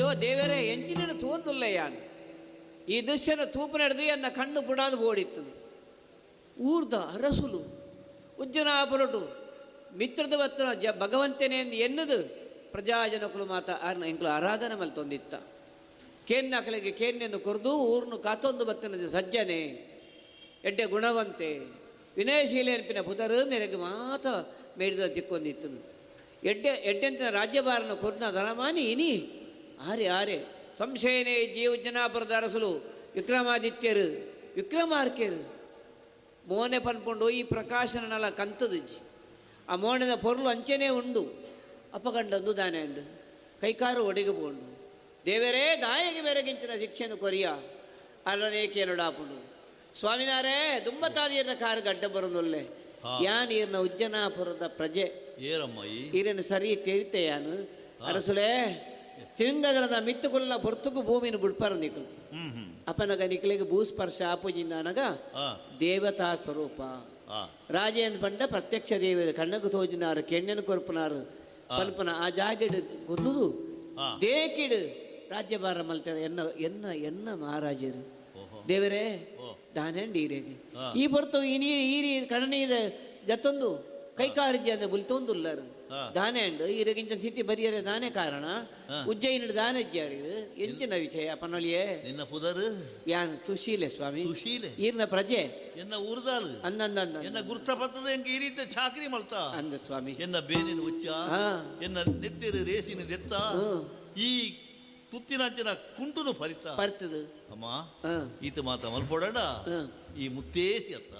ಅಯ್ಯೋ ದೇವರೇ, ಎಂಚಿನ ತೂಂದುಲ್ಲ ಯಾನು ಈ ದೃಶ್ಯನ ತೂಪು ನಡೆದು ಎನ್ನ ಕಣ್ಣು ಬುಡಾದು ಓಡಿತ್ತು. ಊರ್ದ ಅರಸುಲು ಉಜ್ಜನಾಪುರಟು ಮಿತ್ರದ ಬತ್ತನ ಜ ಭಗವಂತನೇ ಎಂದು ಎನ್ನದು ಪ್ರಜಾಜನಕುಲು ಮಾತ ಎಂಕಲು ಆರಾಧನೆ ಮಲ್ತೊಂದಿತ್ತ. ಕೇನ್ನಕಲಿಗೆ ಕೇನ್ಯನ್ನು ಕೊರ್ದು ಊರ್ನು ಕಾತೊಂದು ಬತ್ತನದು ಸಜ್ಜನೆ ಎಡ್ಡೆ ಗುಣವಂತೆ ವಿನಯಶೀಲೆ ಅನ್ಪಿನ ಪುದರು ಮೇರೆಗೆ ಮಾತ ಮೇಡಿದ ತಿಕ್ಕೊಂದಿತ್ತು. ಎಡ್ಡೆ ಎಡ್ಡೆಂತಿನ ರಾಜ್ಯಭಾರನ ಕೊರ್ನ ಧನಮಾನಿ ಇನಿ ಆರೆ ಆರೆ ಸಂಶಯನೇ ಜೀವ ಜನಾಪುರದ ಅರಸುಲು ವಿಕ್ರಮಾದಿತ್ಯರು ವಿಕ್ರಮಾರ್ಕೆರು ಮೋನೆ ಪನ್ಪುಂಡು ಈ ಪ್ರಕಾಶನಲ ಕಂತದಜ್ಜಿ ಆ ಮೋಣದ ಪೊರ್ಲು ಅಂಚೆನೇ ಉಂಡು. ಅಪಗಂಡಂದು ದಾನೆ ಉಂಡು ಕೈಕಾರು ಒಡೆಗೆ ಪೋಂಡು. ದೇವರೇ ದಾಯಗೆ ಬೆರಗಿಂಚಿನ ಶಿಕ್ಷೆಯನ್ನು ಕೊರಿಯ ಅಲ್ಲನೇ ಕೇಳಡಾಪುಂಡು. ಸ್ವಾಮಿನಾರೇ ದುಂಬತಾದೀರ್ನ ಕಾರು ಗಡ್ಡ ಬರೋದೊಲ್ಲೆ ಯಾನ್ ಈರ್ನ ಉಜ್ಜನಾಪುರದ ಪ್ರಜೆ ಈರನ್ನು ಸರಿ ತೆರಿತೆ ಯಾನು ಅರಸುಲೇ ಚಿಂಗದರದ ಮಿತ್ತುಕುಲ್ಲ ಪೊರ್ತುಕು ಭೂಮಿನ ಬುಡ್ಪಾರ ನಿಕ್ಲು ಅಪನಗ ನಿಕ್ಲೆಗೆ ಭೂಸ್ಪರ್ಶ ಆಪುಜಿಂದ ಅನಗ ದೇವತಾ ಸ್ವರೂಪ ರಾಜೇಂದ್ರ ಪಂಡ ಪ್ರತ್ಯಕ್ಷ ದೇವರು ಕಣ್ಣకు ತೋಜಿನಾರು ಕೆಣ್ಣನು ಕೊರ್ಪುನಾರು ಪಲ್ಪನ ಆ ಜಾಗೆಡು ಗುರ್ಲುದು ದೇಕಿಡು ರಾಜ್ಯಭಾರ ಮಲ್ತಾರೆ ಎನ್ನ ಎನ್ನ ಎನ್ನ ಮಹಾರಾಜರು ದೇವರೇ ದಾನೇಂಡಿ ಈರೇಗೆ ಈ ಹೊರತು ಈ ನೀರು ಈರಿ ಕಣ್ಣೀರು ಜತ್ತೊಂದು ಕೈಕಾರ್ಜಿ ಅಂದ್ರೆ ಬುಲ್ತೊಂದುಲ್ಲರು ದಾನೆ ಅಂಡು ಈರಗಿಂಚ ಸ್ಥಿತಿ ಬರಿಯರೆ ದಾನೆ ಕಾರಣ ಉಜ್ಜಯಿನ ದಾನೆ ಜಾರಿ ಎಂಚಿನ ವಿಷಯ ಪನೊಲಿಯೇ ನಿನ್ನ ಪುದರು ಯಾನ್ ಸುಶೀಲೆ ಸ್ವಾಮಿ ಸುಶೀಲೆ ಈರ್ನ ಪ್ರಜೆ ಎನ್ನ ಊರ್ದಾಲು ಅಂದಂದ ಎನ್ನ ಗುರ್ತ ಪತ್ತದ ಎಂಕ ಈ ರೀತಿ ಚಾಕ್ರಿ ಮಲ್ತ ಅಂದ ಸ್ವಾಮಿ ಎನ್ನ ಬೇನಿನ ಉಚ್ಚ ಎನ್ನ ನೆತ್ತಿರು ರೇಸಿನ ದೆತ್ತ ಈ ತುತ್ತಿನಂಚಿನ ಕುಂಟುನು ಫಲಿತ ಪರ್ತದ ಅಮ್ಮ ಈತ ಮಾತ ಮಲ್ಪೊಡಡ ಈ ಮುತ್ತೇಸಿ ಅತ್ತ